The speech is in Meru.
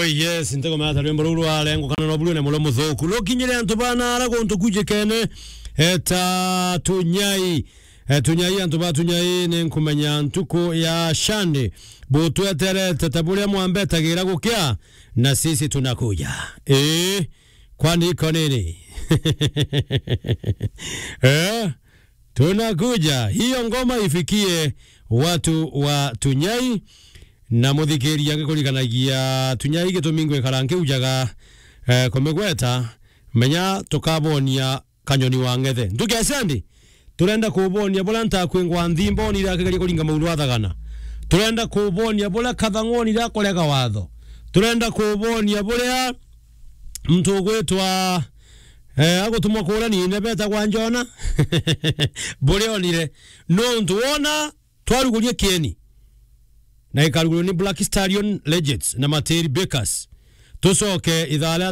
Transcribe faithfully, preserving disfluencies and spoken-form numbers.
Oh yes, ntikumenya ta rwimbo ruu rwarengukana na buru na mulo muthuku. Rukinyire antu bana ara guntu kujikene, eta Tunyai. E, Tunyai, antu ba Tunyai, ni nkumenya ntuku ya Shande. Butweterete ta buria mwambetagira gukia, na sisi tunakuja. Ii, kwani iko nini? Eh? Tunakuja. Hiyo ngoma ifikie watu wa Tunyai. Na muthikiria ngikurikanagia Tunyai gitumi ngwikara nkiujaga, eh, kumigweta, menya tukabonia kanyoni wa ng'ethe. Ntuke Shande, turenda kubonia buria ntakwingwa nthi mbonire akigeria kuringa mauru athagana. Turenda kubonia buria Kathang'u onire akorega watho. Turenda kubonia buria muntu ugwitwa, eh, agutumwa kuura nine betagwa Njona. Buria onire. Nontu wona twaruguria kieni. Na ikarugurwa ni Black Stallion Legends na Materi Bakers. Tucoke ithaa ria